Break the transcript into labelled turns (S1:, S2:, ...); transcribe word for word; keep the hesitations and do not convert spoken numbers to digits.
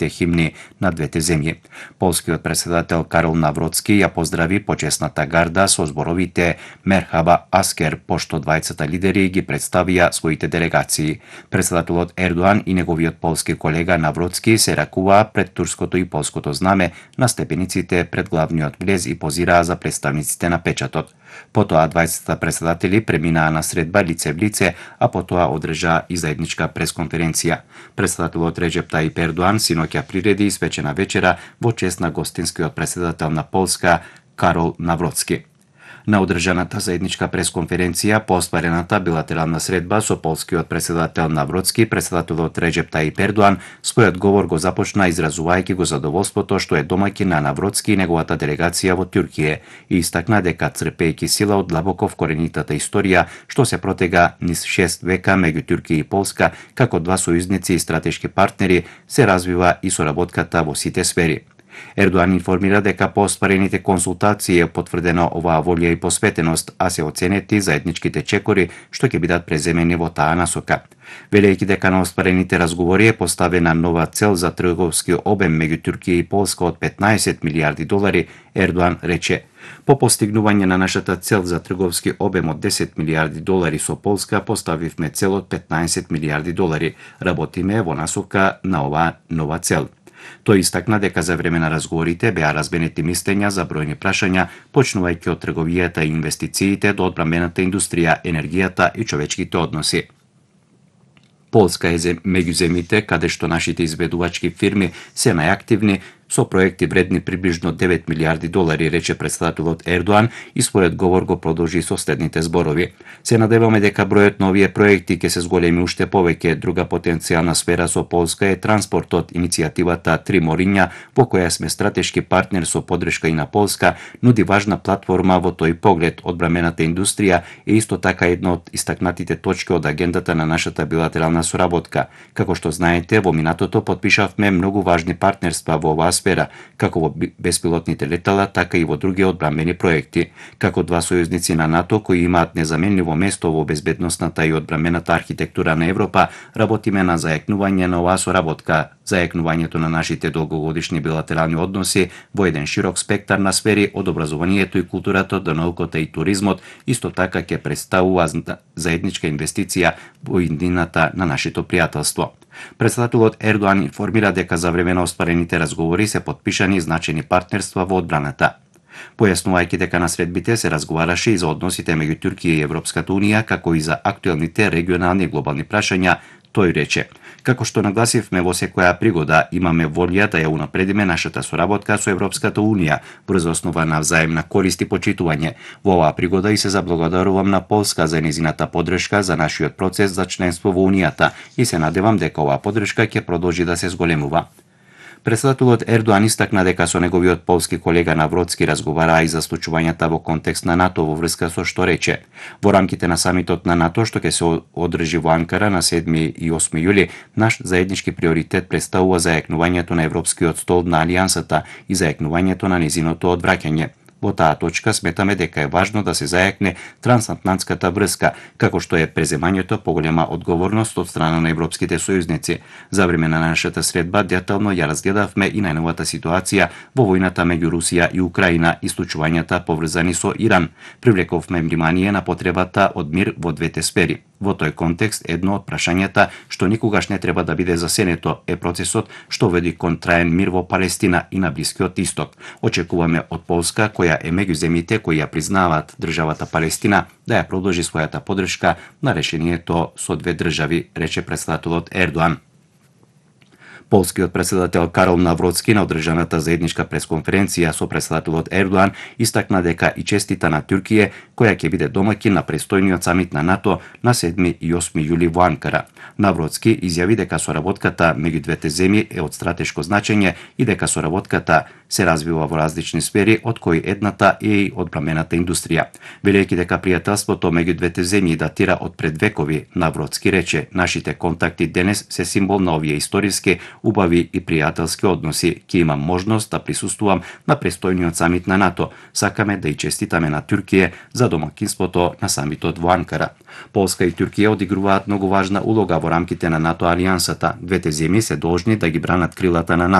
S1: националните химни на двете земји. Полскиот претседател Карол Навроцки ја поздрави почесната гарда со зборовите Мерхаба Аскер, пошто двајцата лидери ги представија своите делегации. Претседателот Ердоан и неговиот полски колега Навроцки се ракуваа пред турското и полското знаме на степениците пред главниот влез и позираа за представниците на печатот. Потоа двајцата претседатели преминаа на средба лице в лице, а потоа одржаа и заедничка пресконференција. Претседателот Реджеп Тајип Ердоан синоќа приреди испечена вечера во чест на гостинскиот претседател на Полска Карол Навроцки. На одржаната заедничка пресконференција по остварената билатерална средба со полскиот претседател Навроцки, претседателот Реджеп Тајип Ердоан својот говор го започна изразувајќи го задоволството што е домаќин на Навроцки и неговата делегација во Туркија и истакна дека црпејќи сила од длабоко вкоренитата историја што се протега низ шест века меѓу Туркија и Полска како два сојузници и стратешки партнери се развива и соработката во сите сфери. Ердоан информира дека по остварените консултации е потврдено оваа волја и посветеност, а се оценети заедничките чекори што ќе бидат преземени во таа насока. Велејќи дека на остварените разговори е поставена нова цел за трговски обем меѓу Туркија и Полска од петнаесет милијарди долари, Ердоан рече: "По постигнување на нашата цел за трговски обем од десет милијарди долари со Полска поставивме цел од петнаесет милијарди долари. Работиме во насока на оваа нова цел." Тој истакна дека за време на разговорите беа разбенети мислења за бројни прашања, почнувајќи од трговијата и инвестициите до одбрамбената индустрија, енергијата и човечките односи. Полска е меѓу земјите каде што нашите изведувачки фирми се најактивни со проекти вредни приближно девет милијарди долари, рече претседателот Ердоан и својот говор го продолжи со следните зборови. Се надеваме дека бројот на овие проекти ќе се зголеми уште повеќе. Друга потенцијална сфера со Полска е транспортот. Иницијативата Три мориња, во која сме стратешки партнер со подршка и на Полска, нуди важна платформа во тој поглед. Одбрамбената индустрија е исто така една од истакнатите точки од агендата на нашата билатерална соработка. Како што знаете, во минатото потпишавме многу важни партнерства во оваа сфера, како во беспилотните летала, така и во други одбрамбени проекти. Како два сојузници на НАТО кои имаат незаменливо место во безбедносната и одбрамбената архитектура на Европа, работиме на зајакнување на оваа соработка, зајакнувањето на нашите долгогодишни билатерални односи во еден широк спектар на сфери од образованието и културата до науката и туризмот, исто така ќе представува заедничка инвестиција во иднината на нашето пријателство. Претседателот Ердоан информира дека за време на остварените разговори се потпишани значени партнерства во одбраната. Појаснувајќи дека на средбите се разговараше и за односите меѓу Туркија и Европската унија, како и за актуелните регионални и глобални прашања, тој рече: "Како што нагласивме во секоја пригода, имаме волја да ја унапредиме нашата соработка со Европската унија врз основа на взаемна корист и почитување. Во оваа пригода и се заблагодарувам на Полска за незината поддршка за нашиот процес за членство во унијата и се надевам дека оваа поддршка ќе продолжи да се зголемува." Претседателот Ердоан истакна дека со неговиот полски колега Навроцки разговараа и за случувањата во контекст на НАТО во врска со што рече: "Во рамките на самитот на НАТО што ќе се одржи во Анкара на седми и осми јули, наш заеднички приоритет представува зајакнувањето на европскиот стол на алијансата и зајакнувањето на незиното одвраќање. Во таа точка сметаме дека е важно да се зајакне трансатлантската врска, како што е преземањето поголема одговорност од страна на европските сојузници. За време на нашата средба детално ја разгледавме и најновата ситуација во војната меѓу Русија и Украина и случувањата поврзани со Иран. Привлековме внимание на потребата од мир во двете сфери. Во тој контекст, едно од прашањата што никогаш не треба да биде засенето е процесот што води кон траен мир во Палестина и на Блискиот Исток. Очекуваме од Полска, која е меѓу земјите кои ја признаваат државата Палестина, да ја продолжи својата поддршка на решението со две држави, рече претседателот Ердоан. Полскиот претседател Карол Навроцки на одржаната заедничка пресконференција со претседателот Ердоан истакна дека и честита на Туркија, која ќе биде домаќин на престојниот самит на НАТО на седми и осми јули во Анкара. Навроцки изјави дека соработката меѓу двете земји е од стратешко значење и дека соработката се развива во различни сфери, од кои едната е и одбрамбената индустрија. Велејќи дека пријателството меѓу двете земји датира од пред векови, Навроцки рече: "Нашите контакти денес се символ на овие историски, убави и пријателски односи. Ќе имам можност да присуствувам на престојниот самит на НАТО. Сакаме да и честитаме на Туркија за домакинството на самитот во Анкара. Полска и Туркија одигруваат многу важна улога во рамките на НАТО алијансата. Двете земји се должни да ги бранат крилата на НАТО.